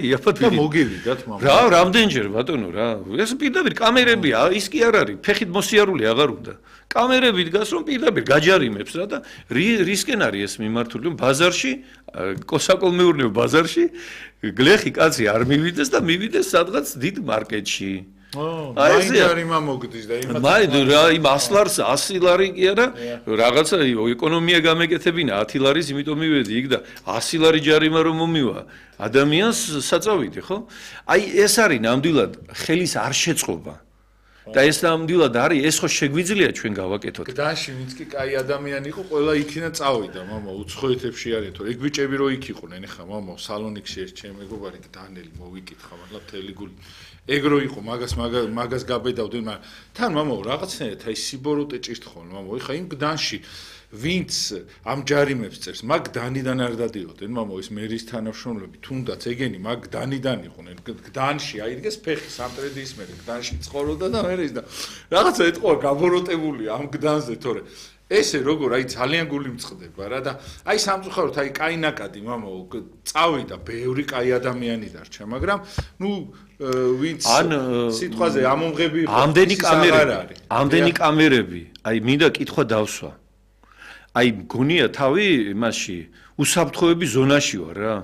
იაფად და მოგივიდათ მამა. რა, რამდენჯერ ბატონო რა. ეს პირდაპირ კამერებია, ის კი არ არის, ფეხით მოსიარული აღარ უნდა. კამერები დგას რომ პირდაპირ გაჯარიმებს რა და რისკენ არის ეს მიმართული, რომ ბაზარში, საკოლმეურნეო ბაზარში გლეხი კაცი არ მივიდეს და მივიდეს სადღაც დიდ მარკეტში. აი ეს არის მოგდის და იმათ. მაინც რა იმ 100 ლარი კი არა, რაღაცა ეკონომია გამეკეთებინა 10 ლარის, იმიტომ მივედი იქ და 100 ლარი ჯარიმა რომ მომივა. ადამიანს საწავიდი, ხო? აი ეს არის ნამდვილად ხელის არ შეწყობა. და ეს ნამდვილად არის, ეს ხო შეგვიძლია ჩვენ გავაკეთოთ. გდანში ვინც კი კაი ადამიანი იყო, ყველა იქინა წავიდა, მამა, უცხოეთებში არის თორე. ეგ ბიჭები რო იქ იყვნენ, ეხა მამა, სალონიკში ეს ჩემ მეგობარი დანელი მოვიკითხა, მართლა მთელი გული. ეგ რო იყო, მაგას გაბედავდნენ, მაგრამ თან მამა, რაღაცნაირად აი სიბოროტე ჭირთხონ, მამა, ეხა იმ გდანში ვინც ამ ჯარიმებს წერს, მაგ დანიდან არ დადიოდნენ, მამა, ეს მერის თანამშრომლები, თუნდაც ეგენი მაგ დანიდან იყვნენ. გდანში აიდგეს ფეხი სამტრედის მერე, გდანში ცხოვრობდა და მერე ის და რაღაცა ეთყობა გაბოროტებული ამ გდანზე, თორე ესე როგორ აი ძალიან გული მწყდება რა და აი სამწუხაროდ აი კაინაკადი მამა წავიდა ბევრი კაი ადამიანი დარჩა, მაგრამ ნუ ვინც სიტყვაზე ამომღები იყო ამდენი კამერები, აი მინდა კითხვა დავსვა. აი მგონია თავი იმაში უსაფრთხოების ზონაში ვარ რა.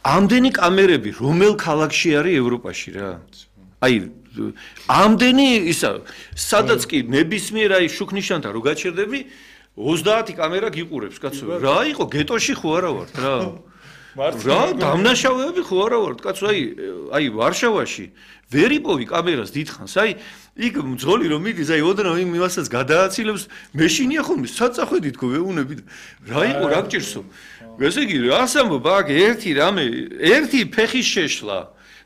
ამდენი კამერები რომელ ქალაქში არის ევროპაში რა. აი ამდენი ისა სადაც კი ნებისმიერ აი შუქნიშანთან რო გაჩერდები 30 კამერა გიყურებს კაცო. რა იყო გეტოში ხო არა ვართ რა. რა დამნაშავეები ხო არა ვართ კაცო აი ვარშავაში ვერ იპოვი კამერას დიდხანს აი იქ მძღოლი რომ მიდის აი ოდნავ იმასაც გადააცილებს მეშინია ხოლმე საწახვედით ხო ვეუნები რა იყო რა გჭირსო ესე იგი რას ამბობ აქ ერთი ფეხის შეშლა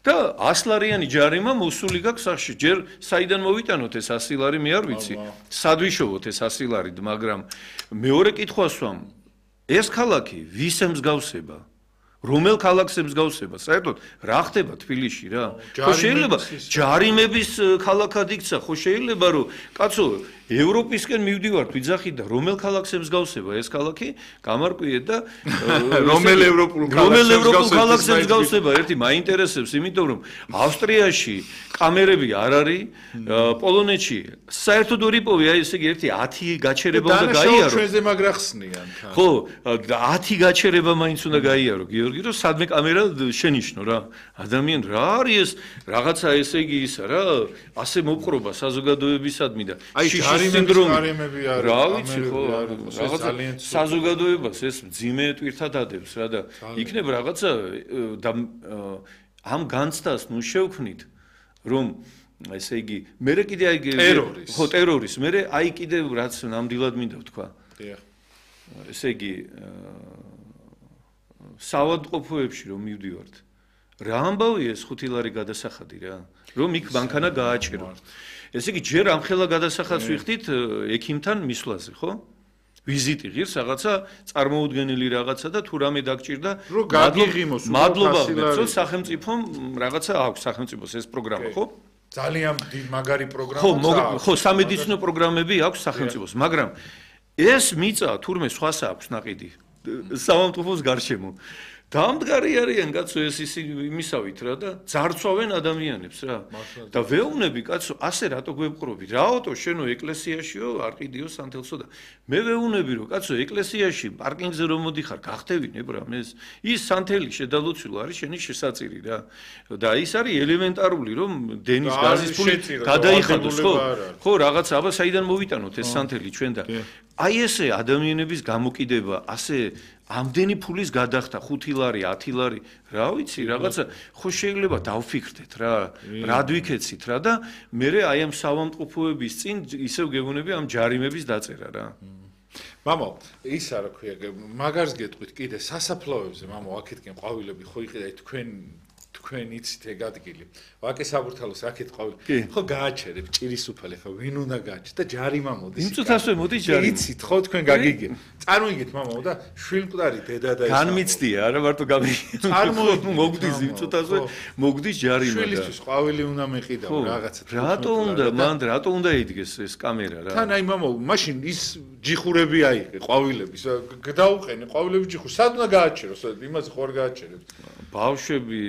და 100 ლარიანი ჯარიმა მოსული გაქვს სახში ჯერ საიდან მოვიტანოთ ეს 100 ლარი მე არ ვიცი სადვიშოვოთ ეს 100 ლარი მაგრამ მეორე კითხვას ვამ ეს ქალაქი ვის ემსგავსება რომელ ქალაქს ემსგავსება საერთოდ რა ხდება თბილისში რა ხო შეიძლება ჯარიმების ქალაქად იქცა ხო შეიძლება რომ კაცო ევროპისკენ მივდივართ ვიძახით და რომელ ქალაქს ემსგავსება ეს ქალაქი გამარკვიეთ და რომელ ევროპულ ქალაქს ემსგავსება ერთი მაინტერესებს იმიტომ რომ ავსტრიაში კამერები არ არის პოლონეთში საერთოდ ვერ იპოვე აი ესე იგი ერთი 10 გაჩერება უნდა გაიარო ჩვენზე მაგრა ხსნიან ხო 10 გაჩერება მაინც უნდა გაიარო გიორგი რომ სადმე კამერა შენიშნო რა ადამიან რა არის ეს რაღაცა ესე იგი ისა რა ასე მოპყრობა საზოგადოებისადმი და ჯარიმები არის რა ვიცი ხო რაღაცა საზოგადოებას ეს მძიმე ტვირთად ადევს რა და იქნებ რაღაცა ამ განცდას ნუ შევქმნით რომ ესე იგი მე კიდე აი ხო ტერორის მე აი კიდე რაც ნამდვილად მინდა ვთქვა ესე იგი საავადმყოფოებში რომ მივდივართ რა ამბავია ეს 5 ლარი გადასახადი რა რომ იქ მანქანა გააჭირო ესე იგი ჯერ ამხელა გადასახადს ვიხდით ექიმთან მისვლაზე ხო ვიზიტი ღირს რაღაცა წარმოუდგენელი რაღაცა და თუ რამე დაგჭირდა რომ გაგიღიმოს მადლობა მეგრო სახელმწიფომ რაღაცა აქვს სახელმწიფოს ეს პროგრამა ხო ძალიან მაგარი პროგრამა ხო სამედიცინო პროგრამები აქვს სახელმწიფოს მაგრამ ეს მიწა თურმე სხვას აქვს ნაყიდი სამავთყოფოს გარშემო დამდგარი არიან კაცო ეს იმისავით რა და ძარცვავენ ადამიანებს რა და ვეუნები კაცო ასე რატო გვებყრობი რაოდო შენო ეკლესიაშიო არ ყიდიო სანთელსო და მე ვეუნები რომ კაცო ეკლესიაში პარკინგზე რომ მოდიხარ გახტევინებ რა მე ის სანთელი შედალოცილო არის შენი შესაწირი რა და ის არის ელემენტარული რომ დენის გაზის ფული გადაიხადოს ხო რაღაც აბა საიდან მოვიტანოთ ეს სანთელი ჩვენ და აი ესე ადამიანების გამოკიდება ასე ამდენი ფულის გადახდა 5 ლარი 10 ლარი რა ვიცი რაღაცა ხო შეიძლება დავფიქრდეთ რა რად ვიქეცით რა და მე აი ამ საავადმყოფოების წინ ისევ გეგონები ამ ჯარიმების დაწერა რა მამა ისა რა ქვია მაგარს გეტყვით კიდე სასაფლაოებზე მამა აქეთკენ ყვავილები ხო იყიდა თქვენ იცით ეგ ადგილი. ვაკე საბურთალოს აქეთ ყავით. კი. ხო გააჩერებ ჭირის უფალი ხო ვინ უნდა გააჩერდეს და ჯარიმა მოდის. იმ წუთასვე მოდის ჯარიმა. იცით ხო თქვენ გაგიგეთ. წარმოიგეთ მამაო და შვილმკვდარი დედა და ეს. განმიცდია არა მარტო წარმოიდგინე, მოგდის იმ წუთასვე ხო. მოგდის ჯარიმა და შვილისთვის ყვავილი უნდა მეყიდაო რაღაცა. რატო უნდა მან რატო უნდა იდგეს ეს კამერა რა თან აი მამაო მაშინ ის ჯიხურები აიღე ყვავილების გადაუყენე ყვავილების ჯიხურს სად უნდა გააჩეროს იმაზე ხო არ გააჩერებს ბავშვები